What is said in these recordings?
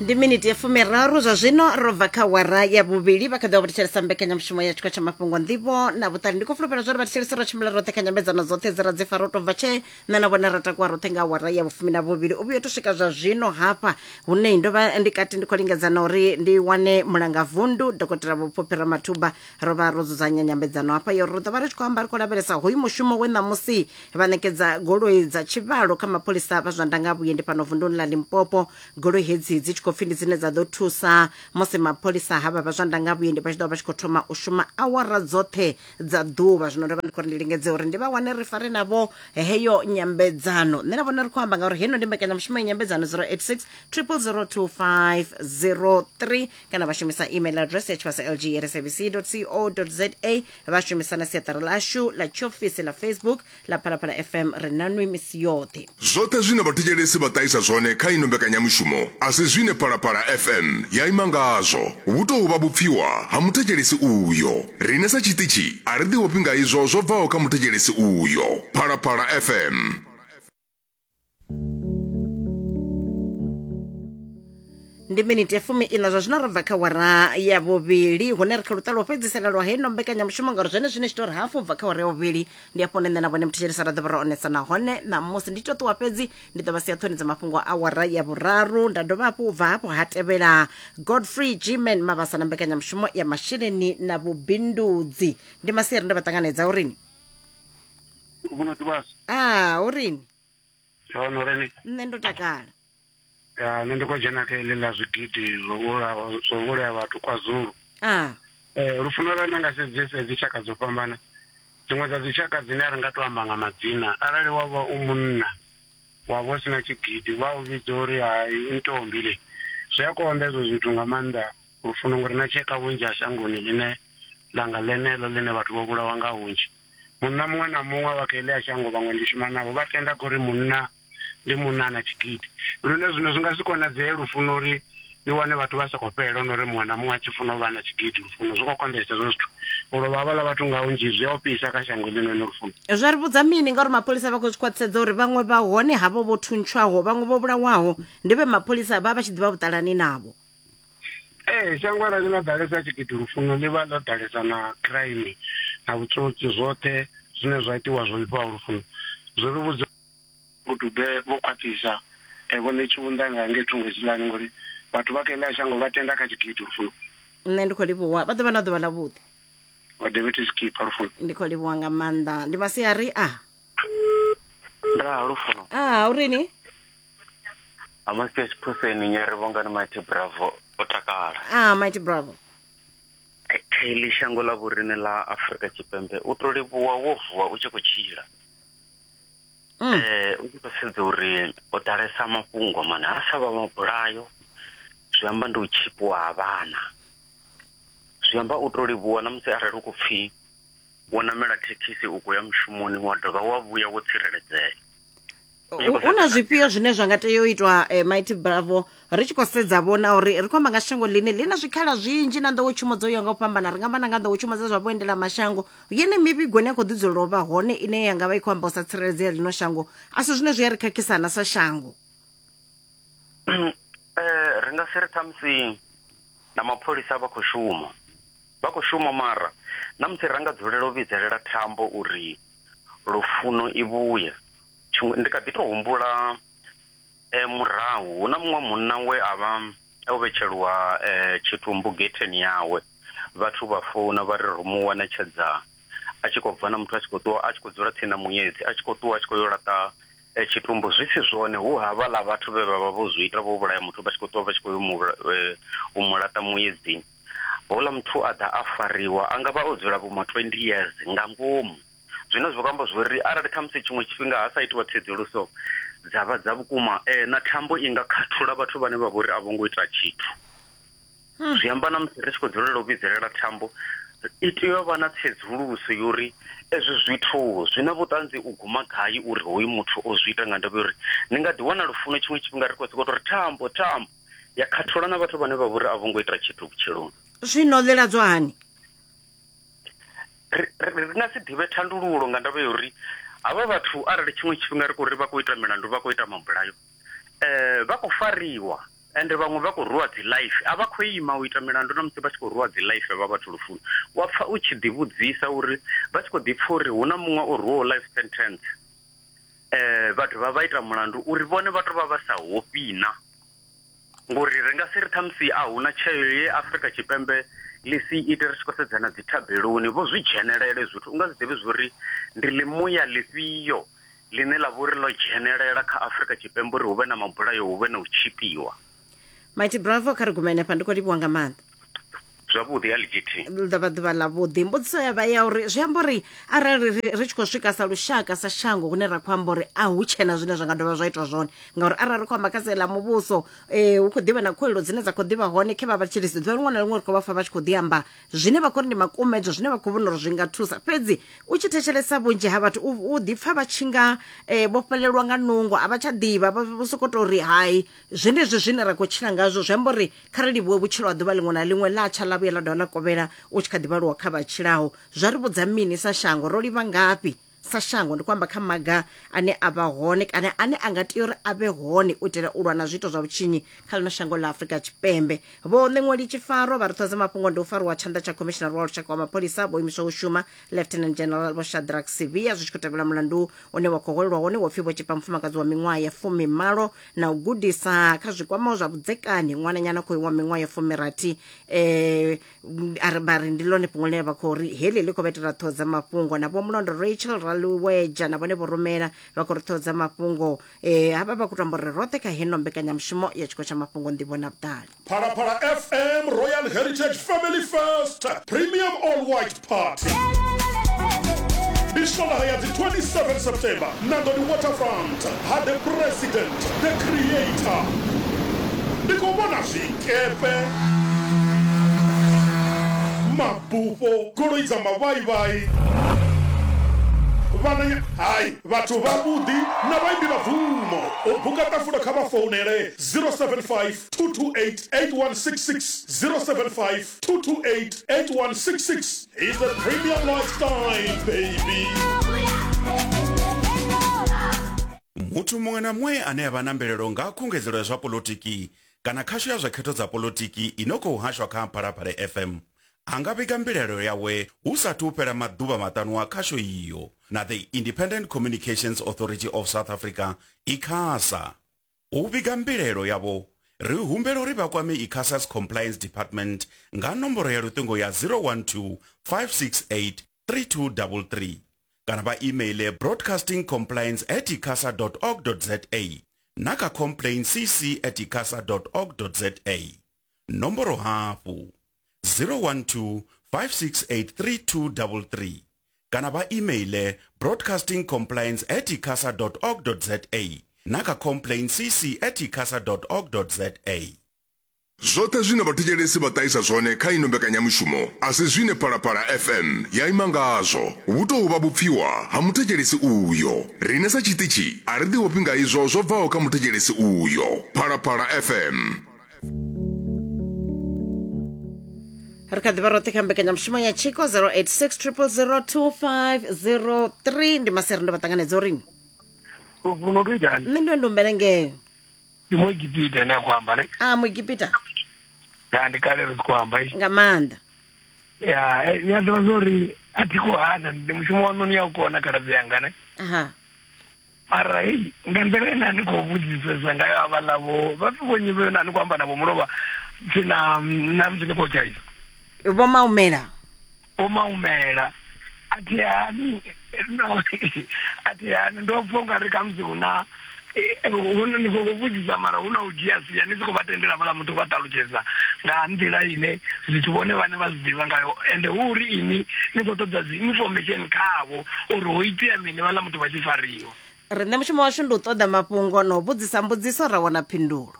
Ndi miniti ya 30 zwa zwino ro bva kha wara ya vhuvhili. Vha kha ḓi vha thetshelesa mbekanyamushumo ya tshikwa tsha mafhungo, nḓivho na vhuṱali. Ndi khou fulufhela zwa uri vha thetshelesa ro tshimbila roṱhe kha nyambedzano dzoṱhe dze ra dzi fara u tou bva tshe nṋe na vhone ra takuwa roṱhe nga awara ya vhufumi na vhuvhili u vhuya to swika zwa zwino hafha hune ndo vha ndi kati ndi khou lingedza na uri ndi wane mulanga vundu Dokotela Vhupfuphi Ramathuba. Ro vha ro dzudzanya nyambedzano hafha yo ri ḓo vha ri tshi khou amba, ri khou lavhelesa hoyu mushumo we ṋamusi vha ṋekedza goloi dza tshivhalo kha mapholisa vha zwa ndanga vhuendi fhano vunduni ḽa Limpopo. Goloi hedzi dzi tshi khou pfi ndi dzine dza ḓo thusa musi mapholisa havha vha zwa ndanga vhuendi vha tshi ḓo vha vha tshi khou thoma u shuma awara dzoṱhe dza ḓuvha. Zwino ndo vha ndi khou ri ndi lingedze uri ndi vha wane ri fare navho heyo nyambedzano. Nṋe na vhone ri khou amba ngauri heino ndi mbekanyamushumo ya nyambedzano 086 0002503, kana vha shumisa email address ya tshivhasa lg at sabc co za, vha shumisa na siaṱari ḽashu ḽa tshiofisi ḽa Facebook ḽa Phalaphala FM. Ri na nwi misi yoṱhe. Zwoṱhe zwine vhathetshelesi vha ṱahisa zwone kha ino mbekanyamushumo a si zwine Phalaphala FM ya ima ngazwo. Vhu tou vha vhupfiwa ha muthetshelesi uyo. Riṋe sa tshiṱitshi a ri ḓiofhi nga izwo zwo bvaho kha muthetshelesi uyo. Phalaphala FM. Ndi miniti ya 14 zwa zwino ro bva kha wara ya vhuvhili, hune ri kha luṱa lwo fhedzisela lwa heino mbekanyamushumo, ngauri zwene zwine tshi tou ri hafu bva kha wara ya vhuvhili ndi afho hune nṋe na vhone muthetshelesa ra ḓo vha ro onesa. Nahone ṋamusi ndi to ṱuwa, fhedzi ndi ḓo vha sia ṱhoni dza mafhungo a wara ya vhuraru, nda dovha hafhu u bva hafho ha tevhela Godfrey Gman Mabasa na mbekanyamushumo ya masheleni na vhubindudzi. Ndi masiari, ndo vha ṱanganedza urini? A urini? Nṋe ndo takala. Ya, nṋe ndi khou dzhena kha heḽi ḽa zwigidi zwo vhulawa, zwo vhulaya vhathu KwaZulu. Lufuno lwa nda nga sedzese dzi tshaka dzo fhambana. Dziṅwe dza dzi tshaka dzine a ri nga to amba nga madzina, arali wa vha u munna wa vha u sina tshigidi vha u vhidza uri hai u ntombi le. Zwi a konḓa hezwo zwithu nga maanḓa lufuno, ngori na tsheka vhunzhi ha shangoni ḽine ḽa nga ḽeneḽo ḽine vhathu vho vhulawa nga hunzhi. Munna muṅwe na muṅwe wa kha heḽia shango, vhaṅwe ndi shuma navho, vha tenda kha uri munna ndi munna na tshigidi, lune zwino zwi nga si konadzee lufuno uri ni wane vhathu vha sa khou fhela no uri muṅwe na muṅwe a tshi funa u vha na tshigidi. Lufuno zwi khou konḓesa hezwo zwithu, u lovha havhaḽa vhathu nga hunzhi zwi a ofhisa kha shango ḽinoni lufuno. Zwa ri vhudza mini ngauri mapholisa vha khou zwi khwaṱhisedza uri vhaṅwe vha hone havho vho thuntshwaho, vhaṅwe vho vhulawaho ndi vhe mapholisa vha vha tshi ḓivha vhuṱalani navho. Ee, shango arali ḽo ḓalesa tshigidi lufuno ḽi vha ḽo ḓalesa na crime na vhutsotsi, zwoṱhe zwine zwa itiwa zwo vhifhaho lufuno zwi ri vhudza. Vho Dube vho khwaṱhisa Vho Ṋetshiunḓa nga ngei thungo hetshiḽani ngori vhathu vha kha heḽa shango vha tenda kha tshigidi lufuno. Nṋe ndi khou livhuwa, vha ḓo vha na ḓuvha ḽavhuḓi. Vha Deputy Skipper lufuno. Ndi khou livhuwa nga maanḓa. Ndi masiari a. Ndaa lufuno. A urini? Amasia Tshiphuseni Nyari Vhongani Mighty Bravo o takala. A Mighty Bravo. Heḽi shango ḽa vhoriṋe ḽa Afrika Tshipembe u to livhuwa wo vuwa u tshi khou tshila. U tshi khou sedza uri ho ḓalesa mafhungo mane a sa vha mabulayo, zwi amba ndi u tshipiwa ha vhana. Zwi amba u to livhuwa na musi arali u khou pfhi wo namela thekhisi u khou ya mushumoni wa dovha wa vhuya wo tsireledzea. Hu na zwifhio zwine zwa nga tea u itwa, Mighty Bravo, ri tshi khou sedza vhona uri ri khou amba nga shango ḽine ḽi na zwikhala zwinzhi na nḓowetshumo dzo yaho nga u fhambana? Ri nga amba na nga nḓowetshumo dza zwa vhuendela mashango, yene mivhigo ine ya khou ḓi dzulela u vha hone ine ya nga vha i khou amba u sa tsireledzea ḽino shango, a si zwine zwi a ri khakhisana sa shango? Ri nga si ri ṱhamusi na mapholisa vha khou shuma, vha khou shuma, mara na musi ra nga dzulela u vhidzelela thambo uri lufuno i vhuye. Tshiṅwe ndi kha ḓi tou humbula murahu hu na muṅwe munna we a vha o vhetshelwa tshitumbu getheni yawe, vhathu vha founa vha ri ro mu wana tshedza a tshi khou bva na muthu a tshi khou ṱuwa a tshi khou dzula tsini na muedzi a tshi khou ṱuwa a tshi khou yo laṱa tshitumbu, zwi si zwone, hu havhaḽa vhathu vhe vha vha vho zwi ita, vho vhulaya muthu vha tshi khou ṱuwa vha tshi khou yo u mu laṱa muedzini. Houḽa muthu a ḓa a fariwa, a nga vha o dzula vho ma 20 years nga ngomu. Zwine zwa khou amba zwori arali khamusi tshiṅwe tshifhinga ha sa itiwa tsedzuluso dza vha dza vhukuma, na thambo i nga khathula vhathu vhane vha vhori a vho ngo ita tshithu. Zwi amba na musi ri tshi khou dzulela u vhidzelela thambo, i tea u vha na tsedzuluso yori ezwi zwithu zwi na vhuṱanzi u guma gai uri hoyu muthu o zwi ita, nga ndavha uri ni nga ḓi wana lufuno tshiṅwe tshifhinga ri khou sokou tou ri thambo thambo ya khathula na vhathu vhane vha vhori a vho ngo ita tshithu vhutshiloni. Zwino ḽiladzwa hani? Ri nga si ḓivhe thandululo nga ndavha ya uri havha vhathu arali tshiṅwe tshifhinga ri khou ri vha khou ita milandu, vha khou ita mabulayo, vha khou fariwa. Ende vhaṅwe vha khou rwiwa dzi life, a vha khou ima u ita milandu na musi vha tshi khou rwiwa dzi life vha vhathu lufuni. Wa pfa u tshi ḓivhudzisa uri vha tshi khou ḓi pfa uri hu na muṅwe o rwiwaho life sentence, vha dovha vha ita mulandu uri vhone vha tou vha vha sa hofhi na. Ngori ri nga si ri ṱhamusi a hu na tsheo ye Afrika Tshipembe ḽi si ite ri tshi khou sedzana dzithabeloni, vho zwi dzhenelela hezwi zwithu. U nga si ḓivhe zwa uri ndi ḽimuya ḽifhio ḽine ḽa vha uri ḽo dzhenelela kha Afrika Tshipembe uri hu vhe na mabulayo, hu vhe na u tshipiwa. Mighty Bravo, kha ri gume henefha, ndi khou livhuwa nga maanḓa. Zwavhuḓi ya LGT. Ḽi ḓo vha ḓuvha ḽavhuḓi. Mbudziso ya vha ya uri zwi amba uri arali ri, ri tshi khou swika sa lushaka sa shango hune ra khou amba uri a hu tshena zwine zwa nga dovha zwa itwa zwone, ngauri arali ri khou amba kha sia ḽa muvhuso eh, hu khou ḓivha na khuwelelo dzine dza khou ḓivha hone khe vha vha tshilisi ḓuvha ḽiṅwe na ḽiṅwe ri khou vha pfa vha tshi khou ḓi amba zwine vha khou ri ndi makumedzo, zwine vha khou vhona uri zwi nga thusa. Fhedzi u tshi thetshelesa vhunzhi ha vhathu u, u ḓi pfa vha tshi nga eh, vho fhelelwa nga nungo, a vha tsha ḓivha, vha vho sokou tou ri hai zwenezwi zwine ra khou tshila ngazwo zwi amba uri Kha ri livhuwe vhutshilo ha ḓuvha ḽiṅwe na ḽiṅwe ḽa tsha ḽa vhuya ḽa dovha ḽa kovhela u tshi kha ḓi vhaliwa kha vha tshilaho. Zwa ri vhudza mini sa shango? Ro livha ngafhi sa shango? Ndi khou amba kha maga ane a vha hone kana ane a nga tea uri a vhe hone u itela u lwa na zwiito zwa vhutshinyi kha ḽino shango ḽa Afrika Tshipembe. Vho Ṋeṅweli Tshifaro vha ri ṱhodza mafhungo ndi u fariwa tshanḓa tsha Khomishinari wa Lushaka wa Mapholisa vho imiswa u shuma Lieutenant General Vho Shadrack Sibiya zwi tshi khou tevhela mulandu une wa khou hwelelwa wone wo pfi vho tshipa mufumakadzi wa miṅwaha ya fumimalo na u gudisa kha zwi kwamaho zwa vhudzekani ṅwananyana khou wa miṅwaha ya fumirathi. A ri vha ri ndi ḽone fhungo ḽine vha khou ri heḽi ḽi khou vha itela ṱhoho dza mafhungo. Na Vho Mulondo Rachel Raluweja na vhone vho rumela vha khou ri ṱhoho dza mafhungo. Havha vha khou tamba uri roṱhe kha heno mbekanyamushumo ya tshiko tsha mafhungo nḓivho na vhuṱali. Phalaphala FM Royal Heritage Family First Premium All White Party ndi Swondaha ya dzi 27 September Nandoni Waterfront ha The President The Creator. Ndi khou vhona zwikepe, mabufho, goloi dza mavhaivhai, vhananya, hai, vhathu vhavhuḓi na vhaimbi vha bvumo. U buka ṱafula kha vha founele 075 228 8166 075 228 8166 is the premium lifestyle baby. Muthu muṅwe na muṅwe ane a vha na mbilaelo nga ha khungedzelo ya zwa polotiki kana khasho ya zwa khetho dza polotiki i no khou hashwa kha Phalaphala FM a nga vhiga mbilaelo yawe hu sathu u fhela maḓuvha maṱanu a khasho iyo na The Independent Communications Authority of South Africa, ICASA. U vhiga mbilaelo yavho, ri humbela uri vha kwame ICASA's Compliance Department nga nomboro ya luṱingo ya 012 568 3233 kana vha imeiḽe broadcastingcompliance at icasa dot org dot za na kha complaintcc at icasa dot org dot za. Nomboro hafhu 012 568 3233 kana vha imeiḽe broadcastingcompliance at icasa dot org dot za na kha complaintcc at icasa dot org dot za. Zwoṱhe zwine vhathetshelesi vha ṱahisa zwone kha ino mbekanyamushumo a si zwine Phalaphala FM ya ima ngazwo. Vhu tou vha vhupfiwa ha muthetshelesi uyo. Riṋe sa tshiṱitshi a ri ḓiofhi nga izwo zwo bvaho kha muthetshelesi uyo. Phalaphala FM. Ri kha ḓivha roṱhe kha mbekanyamushumo ya tshiko 086 000 2503 ndi maseri ndo vha ṱanganedza uri Lufuno lu itani? Nṋe ndo ndumbele ngeo. Ndi Muegipita ane a khou amba ne? A Muegipita. Ya ndi kale ri tshi khou amba. Nga maanḓa. Ya, ni a ḓivha zwa uri a thi khou hana ndi mushumo waṋu ni a u kona khaladzi yanga ne? Aha. Mara hei nga nḓila ine a ni khou vhudzisesa ngayo havhaḽa vho vha pfi vho nnyi vhe na ni khou amba navho mulovha tsina na musi ni khou tshaisa. Vho Maumela. Vho Maumela a thi hani no a thi hani ndo pfa ungari khamusi hu na ni khou vhudzisa mara hu na u dzhia sia ni si khou vha tendela vhala muthu vha ṱalutshedza nga nḓila ine zwithu vhone vhane vha zwi ḓivha ngayo ende hu uri ini ni khou ṱoḓa dzi information khavho uri ho itea mini vhaḽa muthu vha tshi fariwa. Riṋe mushumo washu ndi u ṱoḓa mafhungo na u vhudzisa mbudziso ra wana phindulo.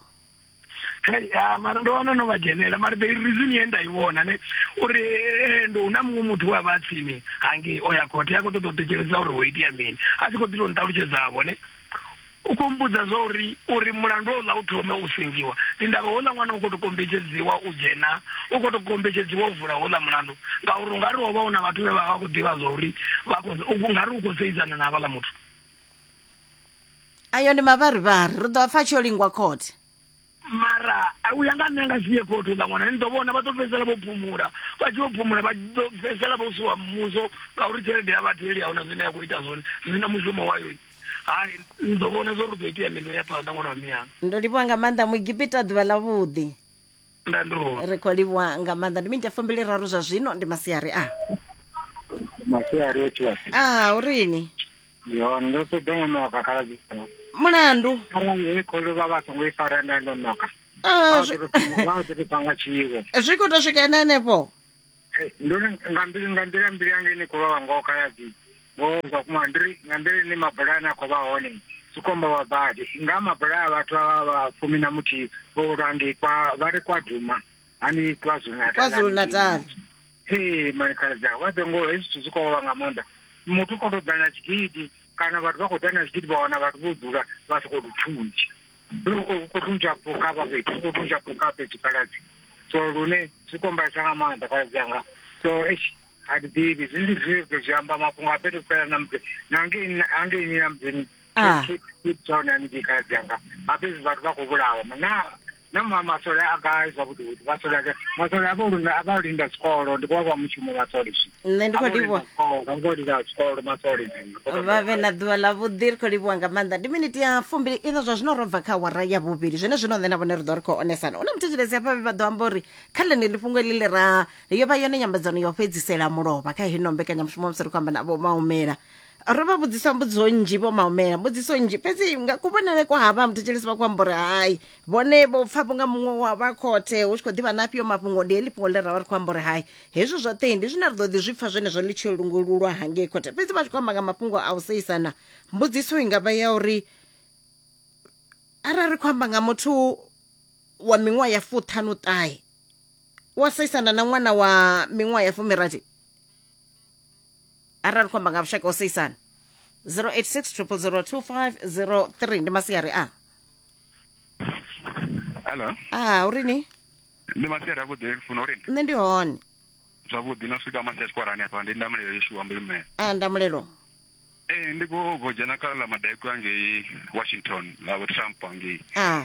Hey, ah, mara ndo wana no vha dzhenela mara the reason ye nda i vhona ne uri ndo hu na muṅwe muthu we a vha a tsini hangei o ya khothe a khou ṱoḓa u thetshelesa uri ho itea mini a tshi khou ḓi tou nṱalutshedzavho ne u khou mbudza zwa uri uri mulandu houḽa u thome u sengiwa ndi ndavha houḽa ṅwana u khou tou kombetshedziwa u dzhena u khou tou kombetshedziwa u vula houḽa mulandu ngauri u nga ri ho vha hu na vhathu vhe vha vha khou ḓivha zwa uri vha khou u nga ri u khou seisana na havhaḽa muthu. Ayo ndi mavharivhari ri ḓo pfa tshi yo lingwa khothe. Mara. Mara u ya nga nṋe nga si ye khothe uḽa ṅwana ni ḓo vhona vha ḓo fhedzisela vho phumula vha tshi vho phumula vha ḓo fhedzisela vho suwa muvhuso ngauri tshelede ya vhatheli ahuna zwine ya khou ita zwone zwi na mushumo wayo. Hai ni ḓo vhona zwo ri ḓo itea mini u ya phanḓa ṅwana wa miyanga. Ndo livhuwa nga maanḓa Muegipita ḓuvha ḽavhuḓi. Nda ndi hone. Ri khou livhuwa nga maanḓa ndi miniti ya fumbili raru zwa zwino ndi masiari a. Masiari o tshiwa. A urini? Ndi hone ndo ṱoḓa u ṋoka khaladzi. Mulandu. Arali heyi kholo vha vha songo i fara nda ndo ṋoka. Ah, Vha ḓo ri panga tshiwo. Zwi khou tou swika ene henefho. Ndo ri nga mbilu nga nḓila mbilu yanga ine khou vhavha ngoho khaladzi. Ngoho zwa kuma ndi ri nga nḓila ine mabulayo ane a khou vha hone zwi khou amba vha badi. Nga mabulayo a vhathu avha vha 11 vho vhulawa ngei kwa vha ri kwa Duma hani KwaZulu Natal. KwaZulu Natal. Ee mani khaladzi anga vha ḓo ngoho hezwi zwithu zwi khou vhavha nga maanḓa. Muthu u khou tou ḓa na tshigidi kana vhathu vha khou ḓa na zwigidi vha wana vhathu vho dzula vha sokou tou thuntsha. Ri khou thuntsha phukha hafha fhethu, ri khou thuntsha phukha fhethu khaladzi. So lune zwi khou mbaisa nga maanḓa khaladzi anga. So eish a thi ḓivhi zwi ndi zwine ḓo zwi amba mafhungo a fhethu fhela na musi na hangeini hangeini na mudzini Ah. Cape Town haningei khaladzi anga hafha hezwi vhathu vha khou vhulawa na na ma masole a gai zwavhuḓi vhuḓi masole a gai masole a vho linda a vha linda zwikolo ndi vha mushumo masole zwi Nṋe ndi khou livhuwa. vha vho linda zwikolo masole zwi Vha vhe na ḓuvha ḽa vhuḓi ri khou livhuwa nga maanḓa ndi miniti ya fumbili ina zwa zwino ro bva kha awara ya vhuvhili zwene zwino nṋe na vhone ri ḓo ri khou onesana una muthetshelesi hafha vhe vha ḓo amba uri kha ḽeneḽi fhungo heḽi ḽi ra yo vha yone nyambedzano ya u fhedzisela mulovha kha hino mbekanyamushumo musi ri khou amba na vho maumela ro vha vhudzisa mbudziso nnzhi vho maumela mbudziso nnzhi fhedzi nga kuvhonele kwa havha muthetshelesi vha khou amba uri hai vhone vho pfa vhunga muṅwe wa vha khothe hu tshi khou ḓivha na afhio mafhungo ndi heḽi fhungo ḽe ra vha ri khou amba uri hai hezwi zwoṱhe ndi zwine ri ḓo ḓi zwi pfa zwenezwo ḽi tshi lungululwa hangei khothe fhedzi vha tshi khou amba nga mafhungo a u seisana mbudziso i nga vha ya uri arali ri khou amba nga muthu wa miṅwaha ya fuṱhanuṱahe wa seisana na ṅwana wa miṅwaha ya fumirathi arali khou amba nga vhushaka ho seisana 086 0002503 ndi masiari a Hello. a urini Ndi masiari avhuḓi lufuno uri nṋe ndi hone zwavhuḓi no swika masiari tshikwarani hafha ndi ndamulelo yeshuwa mbilumela. a ndamulelo Ee ndi khou bvo dzhena kha ḽa madekwe angei Washington ḽa vho Trump angei. a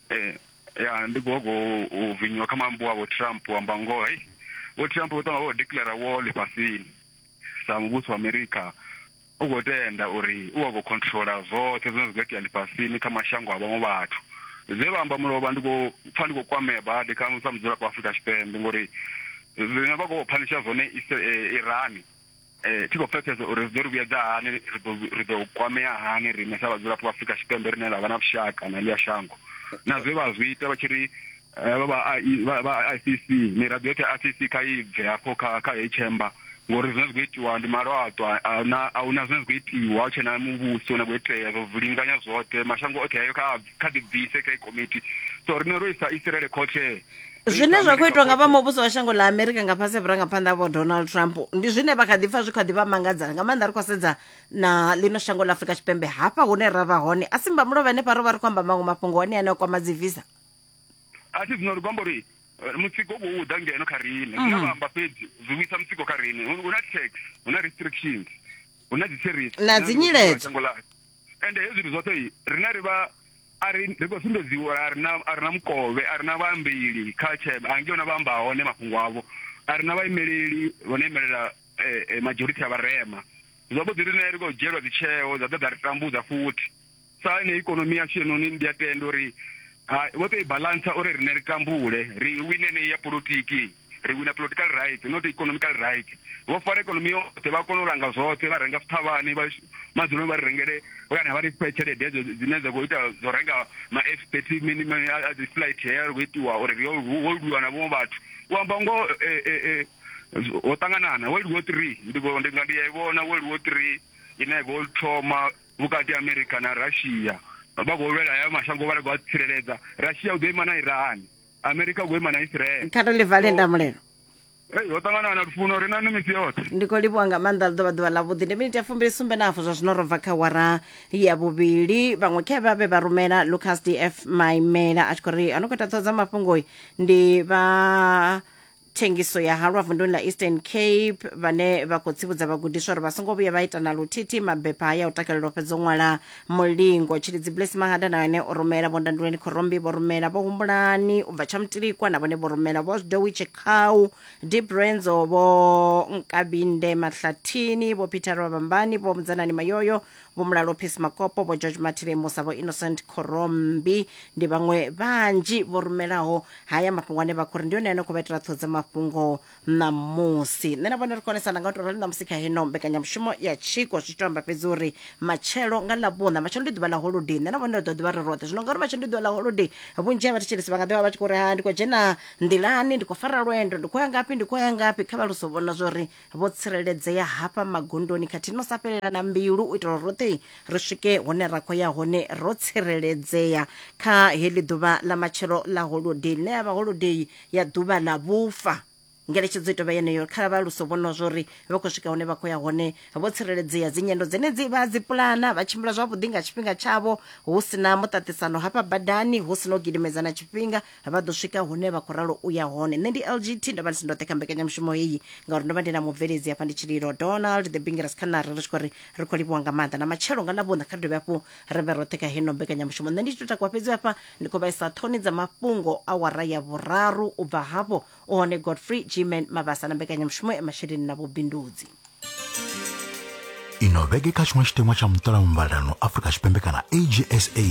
Eh ya ndi khou go u vinyiwa kha mambo wa vho Trump amba ngoho hey vho Trump vho ṱanga vho declare war ḽifhasini sa muvhuso wa America u khou tenda uri u wa khou controla zwoṱhe zwine zwa khou itea ḽifhasini kha mashango a vhaṅwe vhathu. Zwe vha amba mulovha ndi khou pfa ndi khou kwamea badi kha sa mudzulapo wa Afrika Tshipembe ngori zwine vha khou phanisha zwone Iran eh thi khou pfesesa uri zwi ḓo ri vhuyedza hani ri ḓo ri ḓo kwamea hani riṋe sa vhadzulapo vha Afrika Tshipembe rine ra vha na vhushaka na ḽia shango na zwe vha zwi ita vha tshi ri vha vha ICC miraḓo yoṱhe ya ICC kha i bve hafho kha kha heyi chamber ngori zwine zwi khou itiwa ndi malwaṱwa a ahuna zwine zwi khou itiwa hu tshena muvhuso une khou itea zwo vilinganya zwoṱhe mashango oṱhe ayo kha kha ḓi bvise kha komiti so riṋe ro isa Israel khothe Zwine zwa khou itwa nga vha muvhuso wa shango ḽa Amerika nga fhasi ha vhurangaphanḓa vho Donald Trump ndi zwine vha kha ḓi pfa zwi kha ḓi vha mangadza nga maanḓa ri khou sedza na ḽino shango ḽa Afrika Tshipembe hafha hune ra vha hone a simba mulovha henefha ro vha ri khou amba maṅwe mafhungo one ane a kwama dzi visa. A thi zwino ri khou amba uri mutsiko u khou ḓa ngeno kha riṋe zwine vha amba fhedzi zwi vhuisa mutsiko kha riṋe hu na tax hu na restrictions hu na dzi tariffs Na dzi nyiledzo. shango ḽashu ende hezwi zwithu zwoṱhe riṋe ri vha a ri ri khou sumbedziwa uri a ri na a ri na mukovhe a ri na vhaambeli kha tshema a ngei hune vha amba hone mafhungo avho a ri na vhaimeleli vho no imelela majority ya vharema zwavhuḓi riṋe ri khou dzhielwa dzitsheo dza ḓa dza ri tambudza futhi sa ine ikonomi yashu yenoni ndi a tenda uri vho tou i balansa uri riṋe ri tambule ri wine yeneyi ya polotiki ri wina political rights not economical rights vho fara ikonomi yoṱhe vha kona u langa zwoṱhe vha renga zwithavhani vha madzuloni vha ri rengele kana vha ri fhe tshelede hedzo dzine dza khou ita dzo renga ma F 30 mini mini a dzi flight hea ri khou itiwa uri ri ho lwiwa na vhaṅwe vhathu u amba ngoho ho ṱanganana World War 3 ndi ndi nga ndi ya i vhona World War 3 ine ya khou thoma vhukati ha America na Russia vha khou lwela haya mashango vha ri khou a tsireledza Russia u ḓo ima na Iran America u khou ima na Israel Kha ri ḽi vale ndamulelo. Hey, ho ṱangana na lufuno ri na nṋe misi yoṱhe. Ndi khou livhuwa nga maanḓa ḽi ḓo vha ḓuvha ḽavhuḓi ndi miniti ya fumbili sumbe na hafu zwa zwino ro bva kha wara ya vhuvhili vhaṅwe khe vha vhe vha rumela Lucas DF Maimela a tshi khou ri a no khou ita ṱhoho dza mafhungo ndi vha thengiso ya halwa vunduni ḽa Eastern Cape vhane vha khou tsivhudza vhagudiswa uri vha songo vhuya vha ita na luthithi mabepha haya u takalela u fhedza u ṅwala mulingo. Tshilidzi Bless Mahada na ene o rumela, Vho Ndanduleni Khorombi vho rumela, Vho Humbulani u bva Tshamutilikwa na vhone vho rumela, Vho Dowi Tshikhau, Deep Renzo, Vho Nkabinde Mahlathini, Vho Peter Vhabambani, Vho Mudzanani Mayoyo, Vho Mulalo Peace Makopo, Vho George Mathile Musa, Vho Innocent Khorombi ndi vhaṅwe vhanzhi vho rumelaho haya mafhungo ane vha khou ri ndi one ane khou vha itela ṱhoho dza mafhungo ṋamusi. Nṋe na vhone ri konesana nga u tou rali ṋamusi kha hino mbekanyamushumo ya tshiko, zwi tshi to amba fhedzi uri matshelo nga Ḽavhuṋa, matshelo ndi ḓuvha ḽa holodei, nṋe na vhone ri ḓo ḓivha ri roṱhe. Zwino ngauri matshelo ndi ḓuvha ḽa holodei, vhunzhi ha vhathetshelesi vha nga ḓivha vha tshi khou ri ha ndi khou dzhena nḓilani, ndi khou fara lwendo, ndi khou ya ngafhi, ndi khou ya ngafhi, kha vha luso vhona zwa uri vho tsireledzea hafha magondoni khathihi no sa fhelela na mbilu u itela uri roṱhe ri swike hune ra khou ya hone ro tsireledzea kha heḽi ḓuvha ḽa matshelo ḽa holodei ḽine ya vha holodei ya ḓuvha ḽa vhufa. Ngeletshedzo i tovha yeneyo kha vha luso vhona zwa uri vha khou swika hune vha khou ya hone vho tsireledzea. Dzinyendo dzenedzi vha dzi pulana vha tshimbila zwavhuḓi nga tshifhinga tshavho hu si na muṱaṱisano hafha badani, hu si na u gidimedzana tshifhinga, vha ḓo swika hune vha khou ralo u ya hone. Nṋe ndi LGT, ndo vha ndi si ndoṱhe kha mbekanyamushumo heyi ngauri ndo vha ndi na mubveledzi hafha ndi Tshililo Donald the Bingiras Khanari, ri tshi khou ri ri khou livhuwa nga maanḓa. Na matshelo nga Ḽavhuṋa kha ri dovhe hafhu ri vhe roṱhe kha heno mbekanyamushumo. Nṋe ndi tshi tou takuwa fhedzi hafha ndi khou vhaisa ṱhoni dza mafhungo awara ya vhuraru. U bva hafho u hone Godfrey Gman Mabasa na mbekanyamushumo ya masheleni na vhubindudzi. Ino vhege kha tshiṅwe tshiteṅwa tsha muṱolamuvhalelano Afrika Tshipembe kana AGSA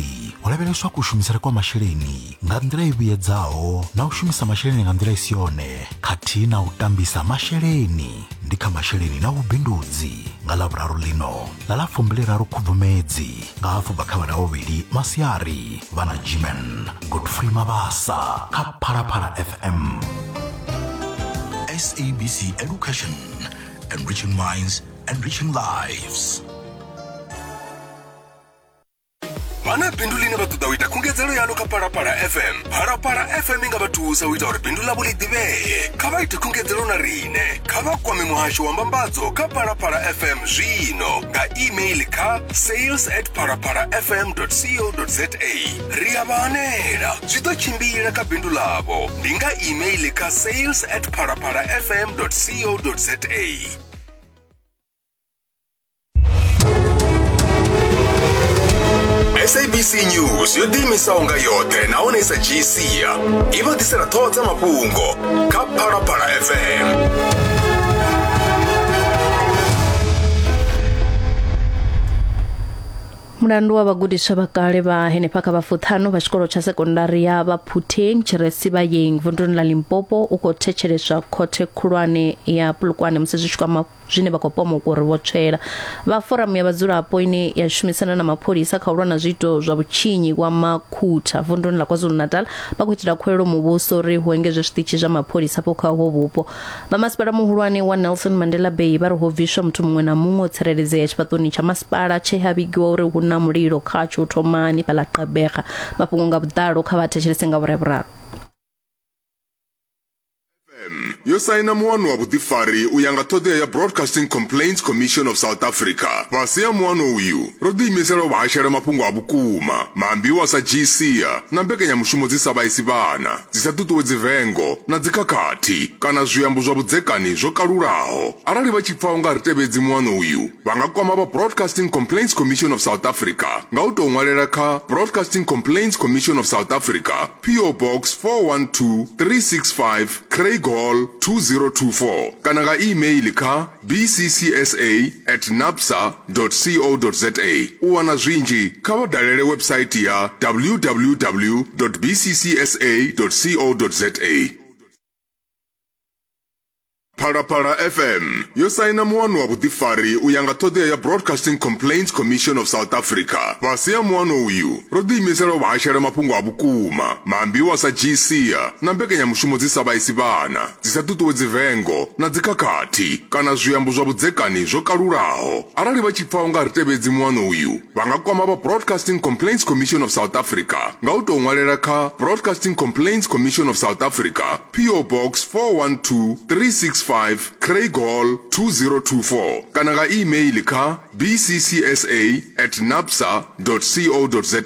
hu lavheleswa kushumisele kwa masheleni nga nḓila i vhuyedzaho na u shumisa masheleni nga nḓila i si yone khathihi na u tambisa masheleni ndi kha masheleni na vhubindudzi nga Ḽavhuraru ḽino ḽa ḽa 23 Khubvumedzi nga hafu bva kha vha vhuvhili masiari vha na Gman Godfrey Mabasa kha Phalaphala FM. SABC Education, enriching minds, enriching lives. Vha na bindu ḽine vha ṱoḓa u ita khungedzelo yaḽo kha Phalaphala FM. Phalaphala FM i nga vha thusa u ita uri bindu ḽavho ḽi ḓivhee. Kha vha ite khungedzelo na riṋe. Kha vha kwame muhasho wa mbambadzo kha Phalaphala FM zwino nga email kha sales at phalaphalafm.co.za. Ri a vha hanela. Zwi ḓo tshimbila kha bindu ḽavho. Ndi nga email kha sales at phalaphalafm.co.za. SABC News yo ḓiimisaho nga yoṱhe nahone i sa dzhii sia i vha ḓisela ṱhoho dza mafhungo kha Phalaphala FM. Mulandu wa vhagudiswa vha kale vha henefha kha vhafuṱhanu vha tshikolo tsha sekondari ya Baphutheng tshi re Sibayeng vunduni ḽa Limpopo u khou thetsheleswa khothe khulwane ya Polokwane musi zwi tshi kwama zwine vha khou pomokwa uri vho tswela. Vha foramu ya vhadzulapo ine ya shumisana na mapholisa kha u lwa na zwiito zwa vhutshinyi wa Makhutha vunduni ḽa KwaZulu-Natal vha khou itela khuwelelo muvhuso uri hu engedzwe zwiṱitshi zwa mapholisa afho kha uho vhupo. Vha masipala muhulwane wa Nelson Mandela Bay vha ri ho bviswa muthu muṅwe na muṅwe o tsireledzea tshifhaṱoni tsha masipala tshe ha vhigiwa uri hu na mulilo khatsho u thomani fhaḽa Gqeberha. Mafhungo nga vhuḓalo kha vha thetshelese nga vhura vhuraru. Yo saina muano wa vhuḓifari u ya nga ṱhoḓea ya Broadcasting Complaints Commission of South Africa. Fhasi ha muano uyu, ro ḓiimisela u vha hashela mafhungo a vhukuma, maambiwa a sa dzhii sia na mbekanyamushumo dzi sa vhaisi vhana, dzi sa ṱuṱuwedzi vengo na dzikhakhathi kana zwiambo zwa vhudzekani zwo kalulaho. Arali vha tshi pfa u nga ri tevhedzi muano uyu, vha nga kwama vha Broadcasting Complaints Commission of South Africa nga u tou ṅwalela kha Broadcasting Complaints Commission of South Africa, PO Box 412 365, Craighall 2024 kana nga e-mail kha bccsa at nabsa co za. U wana zwinzhi kha vha dalele website ya www bccsa co za. Phalaphala FM yo saina muano wa vhuḓifari u ya nga ṱhoḓea ya Broadcasting Complaints Commission of South Africa. Fhasi ha muano uyu, ro ḓiimisela u vha hashela mafhungo a vhukuma, maambiwa a sa dzhii sia na mbekanyamushumo dzi sa vhaisi vhana, dzi sa ṱuṱuwedzi vengo na dzikhakhathi kana zwiambo zwa vhudzekani zwo kalulaho. Arali vha tshi pfa u nga ri tevhedzi muano uyu, vha nga kwama vha Broadcasting Complaints Commission of South Africa nga u tou ṅwalela kha Broadcasting Complaints Commission of South Africa, PO Box 412 365 165 Craighall 2024 kana nga e-mail kha bccsa at nabsa co za.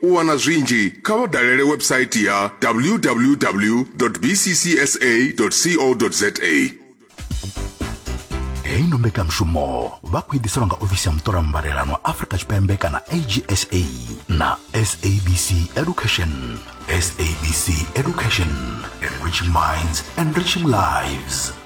U wana zwinzhi kha vha dalele website ya www bccsa co za. Heyi ndo mbekanyamushumo vha khou i ḓiselwa nga ofisi ya muṱola mbalelano wa Afrika Tshipembe kana AGSA na SABC Education. SABC Education, enriching minds, enriching lives.